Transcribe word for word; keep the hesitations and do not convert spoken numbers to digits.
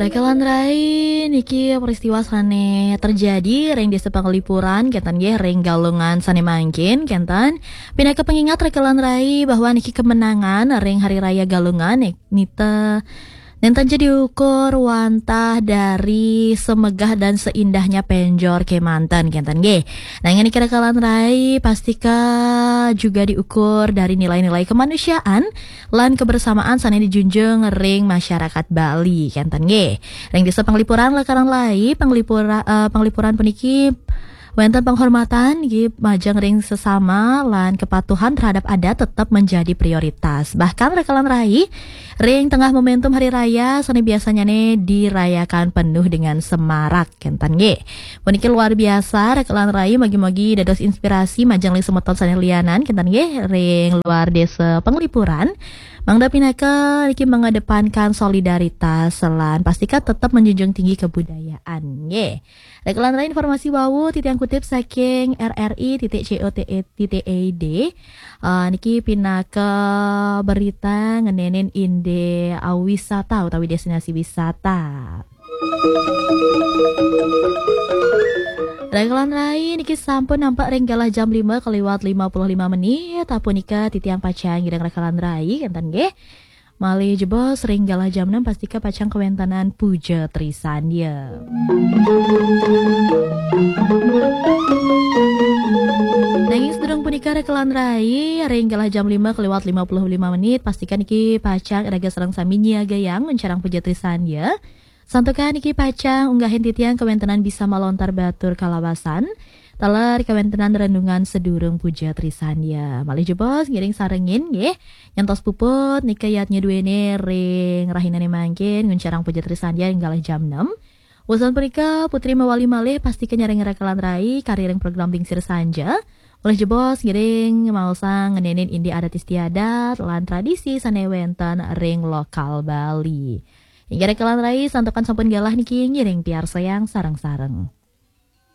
Rekelan rai, niki peristiwa sane terjadi ring Desa Pangelipuran, kenten nggih, ring Galungan sane mangkin, kenten. Pinaka pengingat rekelan rai bahwa niki kemenangan ring Hari Raya Galungan nik-, nita nenten ja diukur wantah dari semegah dan seindahnya penjor kemanten, kenten nggih. Nanging niki rekelan rai pastika juga diukur dari nilai-nilai kemanusiaan lan kebersamaan sane dijunjung ring masyarakat Bali, kenten nggih. Ring Desa Pangelipuran, rekelan rai, Pangelipura-, eh, Pangelipuran puniki wenten penghormatan nggih majeng ring sesama lan kepatuhan terhadap adat tetap menjadi prioritas. Bahkan rekelan rai, ring tengah momentum hari raya sane biasanyane dirayakan penuh dengan semarak, kenten nggih. Puniki luar biasa, rekelan rai, mugi-mugi dados inspirasi majeng ring semeton sane lianan, kenten nggih, ring luar Desa Pangelipuran. Mangda pinaka niki mengedepankan solidaritas lan pastika tetap menjunjung tinggi kebudayaan, nggih. Rekelan rai, informasi wau titiang kutip saking R R I titik C O T E titik I D. Eh, niki pinaka berita ngenenin indik, eh, wisata utawi destinasi wisata. Rekelan rai, niki sampun nampak ring galah jam lima kaliwat lima puluh lima menit. Apunika titiang pacang ngiring rekelan rai, kenten nggih. Malih jebos ring galah jam enam pastika pacang kawentenan Puja Trisandya. Nanging sadurung punika, rekelan rai, ring galah jam lima kaliwat lima puluh lima menit, pastika niki pacang iraga sareng sami nyiagayang nguncarang Puja Trisandya. Santukan niki pacang unggahin titiang kawentenan bisa malontar batur kalawasan taler kawentenan renungan sadurung Puja Trisandya. Malih jebos ngiring sarengin nggih. Nyantos puput nika yatnya duene ring rahinane mangkin nguncarang Puja Trisandya ring galah jam enam. Wusan punika, Putri mawali malih pastika nyarengin rekelan rai kari ring program Lingsir Sanja. Malih jebos ngiring maosang ngenenin indik adat istiadat lan tradisi sane wenten ring lokal Bali. Inggih rekelan rai, santukan sampun galah niki, ngiring piarsayang sareng-sareng.